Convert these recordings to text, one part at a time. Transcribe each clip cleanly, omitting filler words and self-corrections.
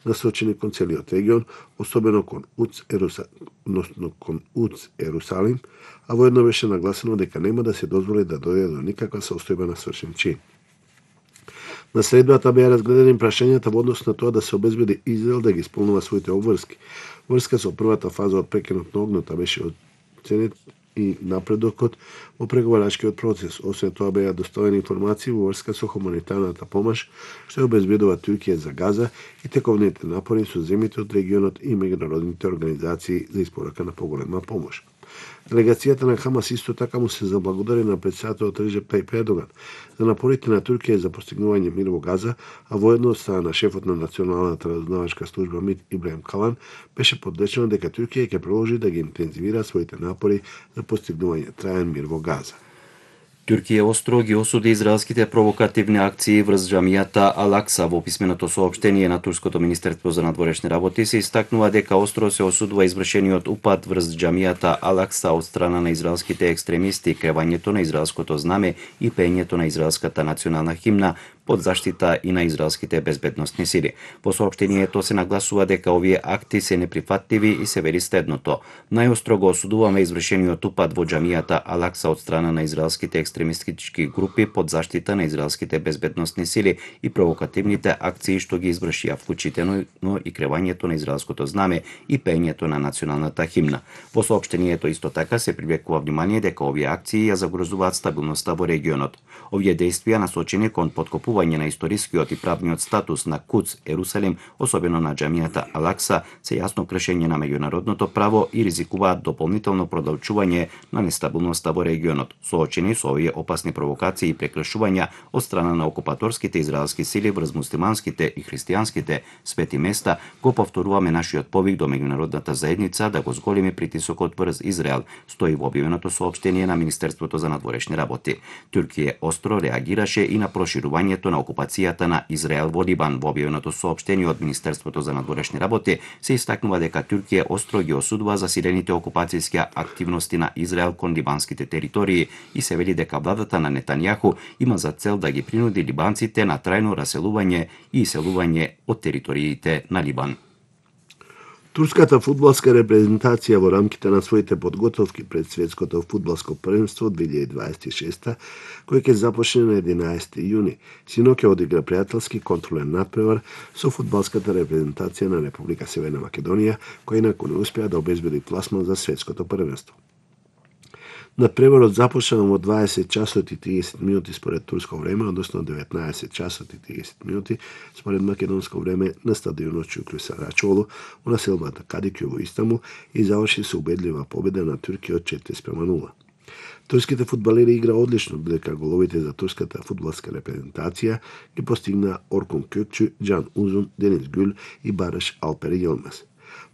насочени кон целиот регион, особено кон УЦ Ерусалим, а воедно беше нагласено дека нема да се дозволи да дојде до никаква состојба на свршен чин. На средбата беа разгледани прашањата во однос на тоа да се обезбеди Израел да ги исполнува своите обврски. Врска со првата фаза од прекинот на огнот беше оценет и напредокот во преговарачкиот процес. Освен тоа беа доставени информации во врска со хуманитарната помош што ја обезбедува Туркија за Газа и тековните напори со земјите од регионот и меѓународните организации за испорака на поголема помош. Делегацијата на Хамас исто така му се заблагодари на претседателот Реджеп Тајип Ердоган за напорите на Туркија за постигнување мир во Газа, а воедно страна на шефот на Националната разузнавачка служба МИД Ибрахим Калан беше подречено дека Туркија ќе продолжи да ги интензивира своите напори за постигнување траен мир во Газа. Туркија остро ги осуди израелските провокативни акции врз џамијата Ал-Акса. Во писменото соопштение на турското министерство за надворешни работи се истакнува дека остро се осудува извршениот упад врз џамијата Ал-Акса од страна на израелските екстремисти, кревањето на израелското знаме и пеењето на израелската национална химна под заштита и на израелските безбедносни сили. Во соопштението се нагласува дека овие акти се неприфатливи и се вели следното: најостро го осудуваме извршениот упад во џамијата Ал-Акса од страна на израелските екстремистички групи под заштита на израелските безбедносни сили и провокативните акции што ги извршија, вклучително и кревањето на израелското знаме и пеењето на националната химна. Во соопштението исто така се привлекува внимание дека овие акции ја загрозуваат стабилноста во регионот. Овие дејствија насочени кон подкопување на историскиот и правниот статус на КУЦ Ерусалим, особено на џамијата Ал-Акса, се јасно кршење на меѓународното право и ризикуваат дополнително продолжување на нестабилноста во регионот. Соочени со овие опасни провокации и прекршувања од страна на окупаторските израелски сили врз муслиманските и христијанските свети места, го повторуваме нашиот повик до меѓународната заедница да го зголеми притисокот врз Израел, стои во објавеното соопштение на Министерството за надворешни работи. Туркија остро реагираше и на проширувањето на окупацијата на Израел во Либан. Во објавеното соопштение од Министерството за надворешни работи се истакнува дека Туркија остро ги осудува засилените окупацијски активности на Израел кон либанските територии и се вели дека владата на Нетањаху има за цел да ги принуди либанците на трајно раселување и иселување од териториите на Либан. Турската фудбалска репрезентација во рамките на своите подготовки пред светското фудбалско првенство 2026, кој ќе започне на 11 јуни, синоќа одигра пријателски контролен натпревар со фудбалската репрезентација на Република Северна Македонија, која инаку не успеа да обезбеди пласман за светското првенство. Надпреварот започна во 20 часот и 30 минути според турско време, односно 19 часот и 30 минути според македонско време на стадионот Чуклю Сарачолу во населбата Кадикју во Истанбул и заврши со убедлива победа на Туркија од 4:0. Турските фудбалери игра одлично, додека головите за турската фудбалска репрезентација ги постигна Оркун Көкчү, Џан Узун, Денис Гюл и Бараш Алпер Јилмаз.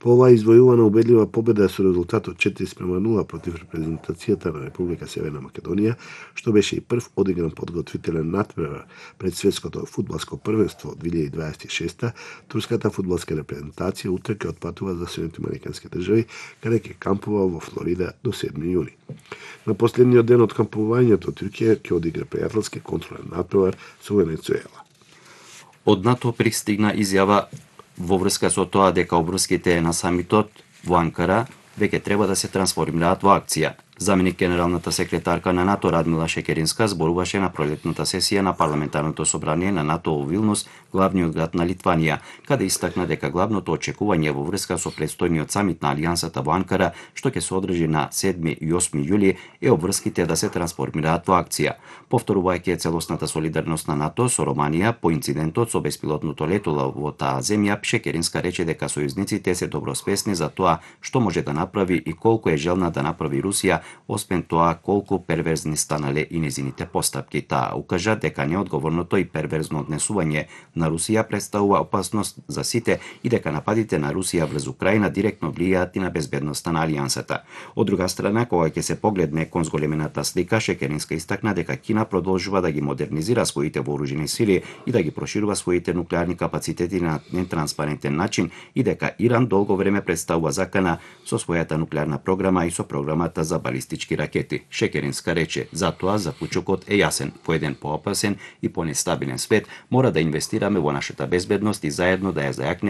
По оваа извојувана убедлива победа со резултатот 4:0 против репрезентацијата на Република Северна Македонија, што беше и прв одигран подготвителен натпревар пред светското фудбалско првенство 2026, турската фудбалска репрезентација утре ќе отпатува за Соединетите американски држави, каде ќе кампува во Флорида до 7 јуни. На последниот ден од кампувањето Туркија ќе одигра пријателски контролен натпревар со Венецуела. Од НАТО пристигна изјава во врска со тоа дека обврските на самитот во Анкара веќе треба да се трансформираат во акција. Заменик генералната секретарка на НАТО Радмила Шекеринска зборуваше на пролетната сесија на парламентарното собрание на НАТО во Вилнус, главниот град на Литванија, каде истакна дека главното очекување во врска со предстојниот самит на Алијансата во Анкара, што ќе се одржи на 7 и 8 јули, е обврските да се трансформираат во акција. Повторувајќи целосната солидарност на НАТО со Романија по инцидентот со беспилотното летало во таа земја, Шекеринска рече дека сојузниците се добросвесни за тоа што може да направи и колку е желна да направи Русија, освен тоа колку перверзни станале и незините постапки. Таа укажа дека неодговорното и перверзно однесување на Русија представува опасност за сите и дека нападите на Русија врз Украина директно влијаат и на безбедноста на Алијансата. Од друга страна, кога ќе се погледне кон зголемената слика, Шекеринска истакна дека Кина продолжува да ги модернизира своите вооружени сили и да ги проширува своите нуклеарни капацитети на нетранспарентен начин и дека Иран долго време представува закана со својата нуклеарна програма и со програмата за балистички ракети. Шекеринска рече, затоа заклучокот е јасен. Во еден поопасен и понестабилен свет мора да инвестираме во нашата безбедност и заедно да ја зајакнеме